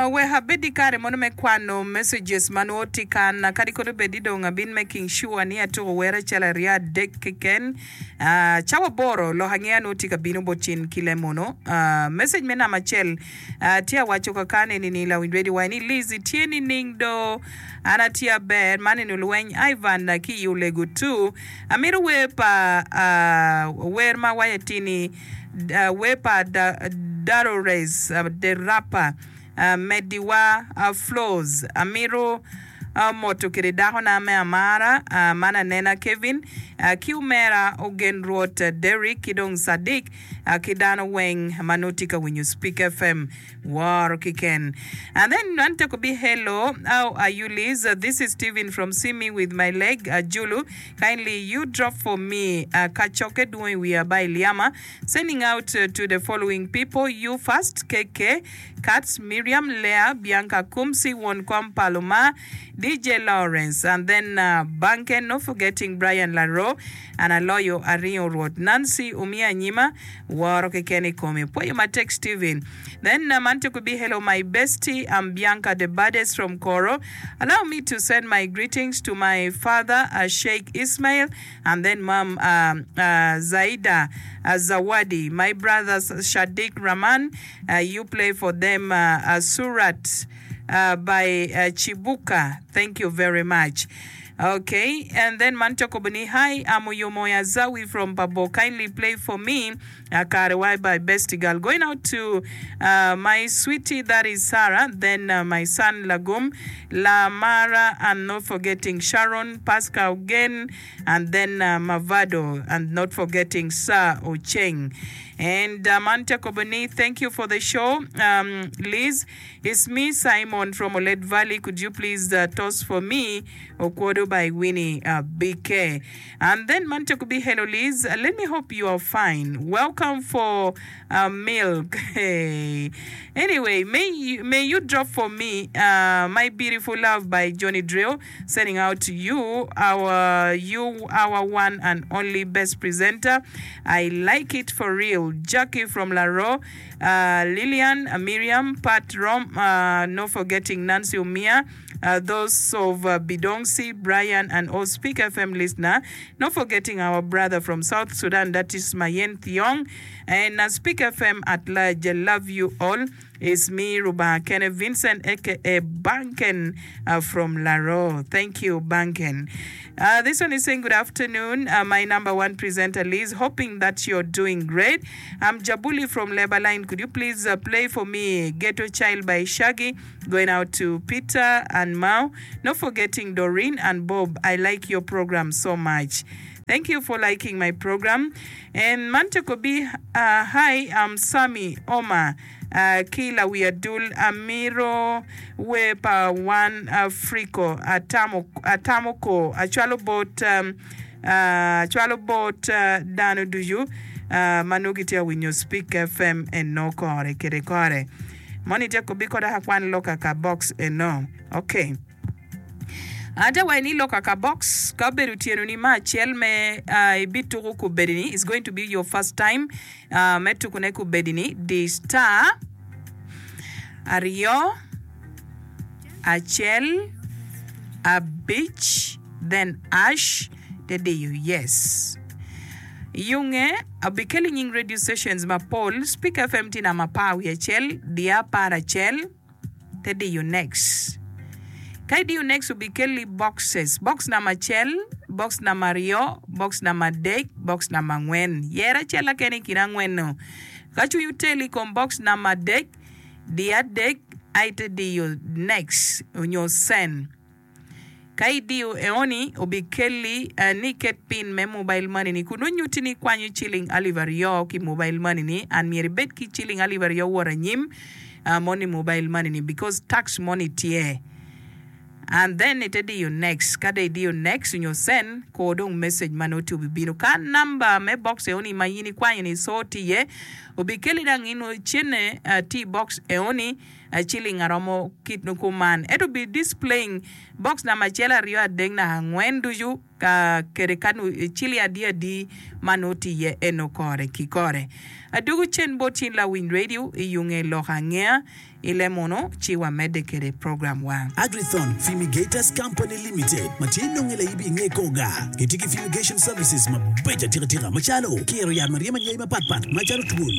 Wek abed i kare mono me kwano messages ma nongo tye kan, kadi kono bed ni dong abin making sure ni atuko wer acel aryo adek keken. Cawa aboro lok angeya nongo tye ka bino bot cin ki lemono. Message me namba acel tye awaco kakan eni ni lawiny radio waco ni Liz itye nining do? An atye aber, man eni olweny Ivan ki i Olego two. Amito wer pa wer ma waco atir ni Wer pa Darores the Rapper, Mediwa Flows, Amito moto kede dakona me amara man anena Kevin ki omera Ogen Rwot Derrick ki dong Sadiq ki dano weng ma nongo tye ka winyo Speak FM woro kiken. And then man teko bi hello how are you Liz this is Steven from see me with my leg Julu Kindly you drop for me kacokke dwong i wiya by Liama sending out to the following people you first KK Katz Miriam Leah Bianca Kumsi won kom pa Luma DJ Lawrence and then Banken not forgetting Brian Laro and aloyo aringo Rwot Nancy omiya anyima woro keken i komi pwoyo matek Steven then man tye kubi hello my bestie I'm Bianca the baddest from Koro Allow me to send my greetings to my father Sheikh Ismail and then mom Zaida Zawadi, my brothers Shadiq Rahman, you play for them Surat by Chibuka, thank you very much. Ok, and then man cokobo ni hi I'm Oyomoya Zawi from Pabo kindly play for me Kare wai by bestie girl going out to my sweetie that is Sarah then my son Lagum Lamara and not forgetting Sharon Pascal Gen and then Mavado and not forgetting Sir Ocheng and man tye kobo ni thank you for the show Liz it's me Simon from Olet Valley could you please toss for me Okwodo by Winnie BK. And then man tye kubi hello Liz let me hope you are fine welcome for milk hey anyway may you, may you drop for me my beautiful love by Johnny Drill sending out to you our you our one and only best presenter I like it for real Jackie from Laro Lilian Miriam Pat Rom no forgetting Nancy Umia Those of Bidongsi, Brian and all Speak FM listener, not forgetting our brother from South Sudan that is Mayen Thiong and Speak FM at large love you all is me Rubanga Kene Vincent aka Banken from Laro thank you Banken this one is saying good afternoon my number one presenter Liz hoping that you're doing great I'm Jabuli from Leba line could you please play for me Ghetto Child by Shaggy Going out to Peter and Mao, not forgetting Doreen and Bob, I like your program so much. Thank you for liking my program. And man te kobi, hi, I'm Sammy Omar ki lawi adul amiro wer pa wan Africo atamo atamo ko acwalo bot acwalo bot dano ducu ma nongo gitye ka winyo Speak FM eno kore kede kore. Moni tye kobi koda ka kwan loka ka box eno. Ok. Ate waci ni loka ka box ka obedo otyeno ni ma acel me uh, ibituko kubedi ni is going to be your first time uh, me tukune kubedi ni di star aryo acel abic then ash te diyo yes. Yunge obikelo nying radio stations mapol, Speak FM tye namba apar wiye acel, diya aparacel te diyo next. Ka idiyo next obikelli boxes, box namba acel, box namba aryo, box namba adek, box namba angwen. Yer acel keken i kin angwen-nu. Ka cwiny oteli i kom box namba adek, diya adek aye ite diyo next onyo send. Ka idiyo eoni, obikelli ni iket pin me mobile money ni kun nongo nyutti ni ikwanyo ciling alip aryo ki mobile money ni and myero ibed ki ciling alip aryo wot anyim moni mobile money ni because tax moni tye and then ite diyo next ka dong idiyo next nyo send kor dong message ma nongo tye obibino ka number me box eoni ma in ikwanyo ni so tye iye obikelli dang inongo cene tye i box eoni Ciling aromo kit kuman ento bi displaying box namba acel aryo adek naka angwen ducu. Ka kede ka ciling adi adi ma nongo tye iye eno kore ki kore. Adwogo cen bot cin lawiny radio i yunge lok angeya i le munu ci wa medde kede program wa. Agrithon Fumigators Company Limited ma tye nonge laibi inge koga gitye ki fumigation services mabeco atika tika macalo kiro yat ma ryemo anyai mapat pat macalo twol.